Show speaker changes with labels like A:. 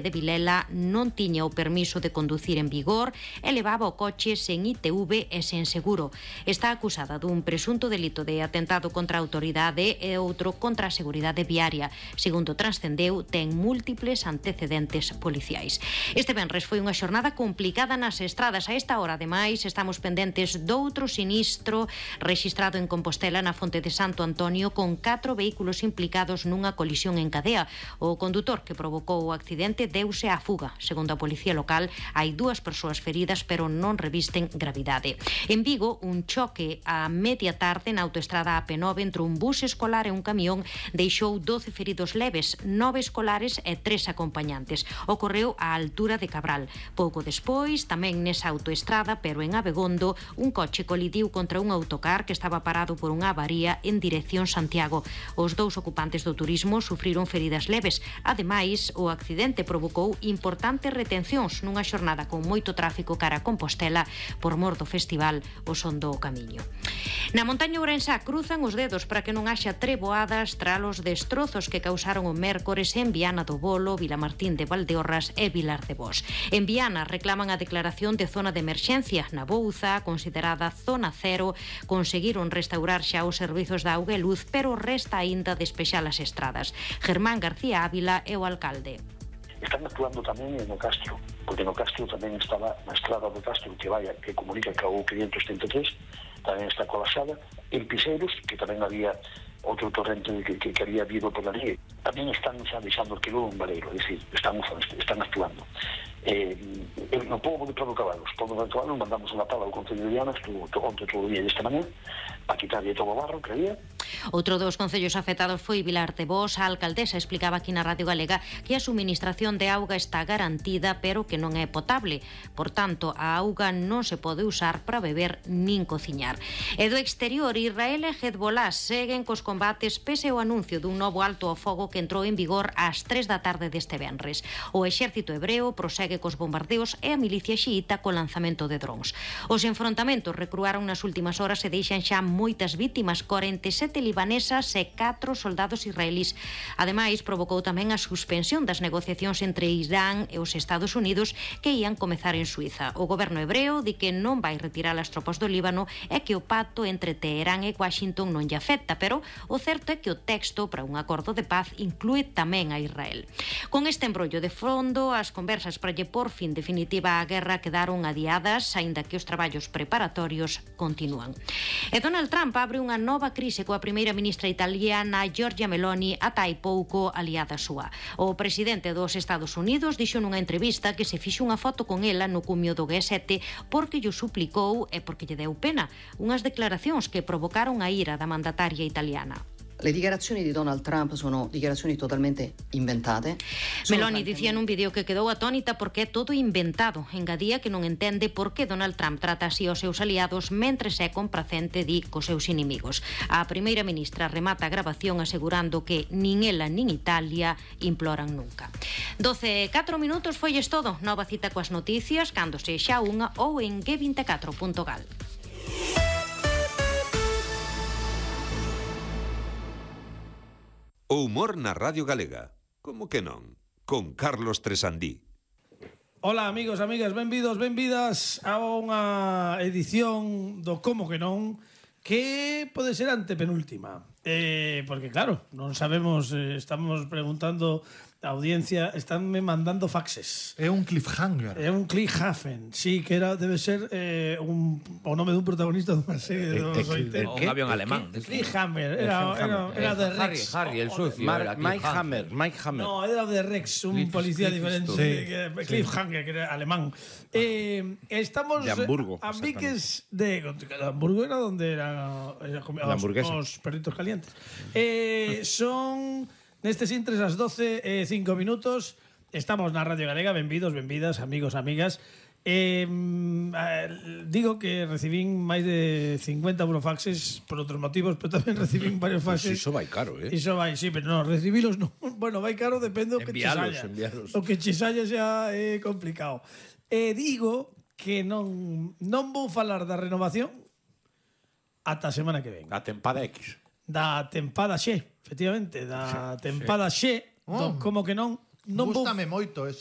A: de Vilela non tiña o permiso de conducir en vigor e levaba o coche sen ITV e sen seguro. Está acusada dun presunto delito de atentado contra a autoridade e outro contra a seguridade viaria. Segundo transcendeu, ten múltiples antecedentes policiais. Este venres foi unha xornada complicada nas estradas. A esta hora, ademais, estamos pendentes doutro sinistro rexistrado en Compostela na Fonte de Santo Antonio con 4 vehículos implicados nunha colisión en cadea. O condutor que provocou o accidente deuse á fuga. Segundo a policía local, hai 2 persoas feridas, pero non revisten gravidade. En Vigo, un choque a media tarde na autoestrada AP9 entre un bus escolar e un camión deixou 12 feridos leves, 9 escolares e 3 acompañantes. Ocorreu á altura de Cabral. Pouco despois, tamén nesa autoestrada, pero en Abegondo, un coche colidiu contra un autocar que estaba parado por unha avaría en dirección Santiago. Os 2 ocupantes do turismo sufriron feridas leves. Ademais, o accidente provocou importantes retencións nunha xornada con moito tráfico cara a Compostela por mor do festival O Son do Camiño. Na montaña ourensá cruzan os dedos para que non haxa treboadas tras os destrozos que causaron o mércores en Viana do Bolo, Vilamartín de Valdeorras e Vilar de Bos. En Viana reclaman a declaración de zona de emerxencia. Na Bouza, considerada zona cero, conseguiron restaurar xa os servizos de auga e luz, pero resta aínda despexar as estradas. Germán García Ávila é o alcalde.
B: Están actuando tamén no Castro, porque no Castro tamén estaba na estrada do Castro que comunica ca o 533, tamén está colapsada. En Piseiros, que tamén había outro torrente que había habido por ali, tamén están xa deixando que un vareiro, é dicir, están actuando. No pobo de Prado Cabalos mandamos unha pala ao Concello de Viana, estuvo onte todo o día e esta mañá, para quitarlle todo o barro que había.
A: Outro dos concellos afectados foi Vilar de Bos. A alcaldesa explicaba aquí na Radio Galega que a suministración de auga está garantida, pero que non é potable. Por tanto, a auga non se pode usar para beber nin cociñar. E do exterior, Israel e Hezbollah seguen cos combates pese ao anuncio dun novo alto ao fogo que entrou en vigor ás 3 da tarde deste venres. O exército hebreo prosegue cos bombardeos e a milicia xiita co lanzamento de drons. Os enfrontamentos recruaron nas últimas horas e deixan xa moitas vítimas, 47 libanesas e 4 soldados israelís. Ademais, provocou tamén a suspensión das negociacións entre Irán e os Estados Unidos que ían comezar en Suiza. O goberno hebreo di que non vai retirar as tropas do Líbano e que o pacto entre Teherán e Washington non lle afecta, pero o certo é que o texto para un acordo de paz inclúe tamén a Israel. Con este embrollo de fondo, as conversas para lle por fin definitiva á guerra quedaron adiadas, aínda que os traballos preparatorios continúan. E Donald Trump abre unha nova crise coa primeira ministra italiana Giorgia Meloni, ata hai pouco aliada súa. O presidente dos Estados Unidos dixo nunha entrevista que se fixo unha foto con ela no cumio do G7 porque lle suplicou e porque lle deu pena. Unhas declaracións que provocaron a ira da mandataria italiana.
C: Le dichiarazioni di Donald Trump sono dichiarazioni totalmente inventate.
A: Meloni dicía nun vídeo que quedou atónita porque é todo inventado. Engadía que non entende por que Donald Trump trata así aos seus aliados mentres é complacente di cos seus inimigos. A primeira ministra remata a grabación asegurando que nin ela nin Italia imploran nunca. 12:04 foi todo. Nova cita coas noticias cando sexa unha ou en g24.gal.
D: O humor na Radio Galega. Como que non? Con Carlos Tresandí.
E: Hola amigos, amigas, benvidas a unha edición do Como que non, que pode ser antepenúltima. Porque claro, non sabemos, estamos preguntando a audiencia, estánme mandando faxes.
F: É un cliffhanger.
E: É un cliffhanger, sí, que debe ser o nome dun protagonista dunha serie dos 80.
G: Un avión alemán.
E: Cliffhanger, era de Rex.
G: Harry, el sucio.
H: Mike Hammer.
E: No, era de Rex, un policía diferente. Cliffhanger, que era alemán. Estamos
H: de Hamburgo.
E: A Viques de Hamburgo, era donde eran os perritos calientes. Son nestes intres as 12:05. Estamos na Radio Galega. Benvidas, amigos, amigas. Digo que recibín máis de 50 burofaxes por outros motivos, pero tamén recibín varios faxes.
H: Iso vai caro,
E: Iso vai, sí, pero non, recibilos non. Bueno, vai caro, depende do que che saia. O que che saia xa é complicado. Digo que non vou falar da renovación ata a semana que ven.
H: A tempada X.
E: Da tempada Xe, efectivamente, da tempada Xe, como que non vou...
F: Gústame moito ese